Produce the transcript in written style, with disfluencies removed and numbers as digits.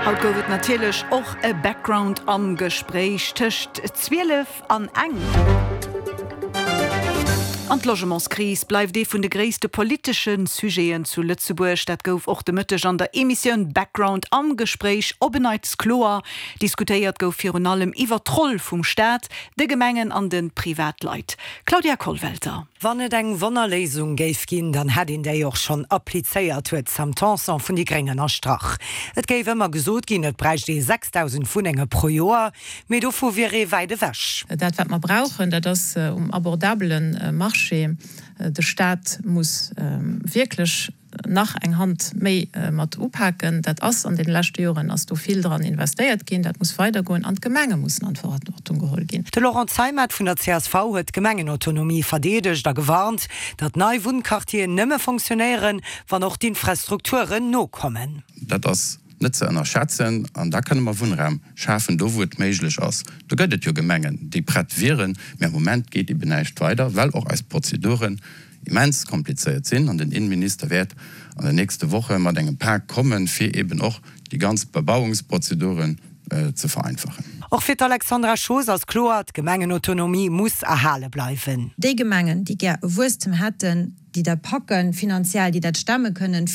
Haut gouf et natierlech och e Background am Gespréich tëscht 12 an eng. An d'Logementskris bleift ee vun de gréisste politesche Sujeten zu Lëtzebuerg. Dat gouf och de Mëtteg an der Emissioun Background am Gespréich op en Neits kloer. Diskutéiert gouf virun allem iwwer d'Roll vum Staat, de Gemengen an de Privatleit. Claudia Kollwelter. Wann et eng Wonnerléisung géif ginn, dann hätt een déi och schonn applizéiert, huet d'Sam Tanson vun déi Gréng ënnerstrach. Et géif ëmmer gesot ginn, et bräicht ee 6.000 Wunnenge pro Joer, mee dovu wier ee wäit ewech. Dat wat mer brauchen, dat ass um abordabele Marché. De Staat muss wierklech nach eng Hand méi mat upaken. Dat ass an deene leschte Joren ass do vill dran investéiert ginn. Dat muss weidergoen an d'Gemenge mussen an d'Verantwortung geholl ginn. De Laurent Zeimet vun der csv huet d'Gemengenautonomie verdeedegt a gewarnt, datt nei Wunnquartieren nëmme fonctionnéieren, wann och d'Infrastrukturen nokommen. Dat ass net ze ënnerschätzen an da kënne mer Wunnraum schafen, do wou et méiglech ass. Do gëtt et jo Gemengen, déi prett wieren, mä am Moment geet eben näischt weider, well och eis Prozeduren immens komplizéiert sinn an den Innenminister wäert an den nächste Woche mat engem Pak kommen, fir eben och déi ganz Bebauungsprozeduren ze vereinfachen. Och fir d'Alexandra Schoos ass kloer, D'Gemengenautonomie muss erhale bleiwen. Déi Gemengen, déi gär e Wuesstem hätten, déi dat packen finanziell, déi dat stemme kënnen.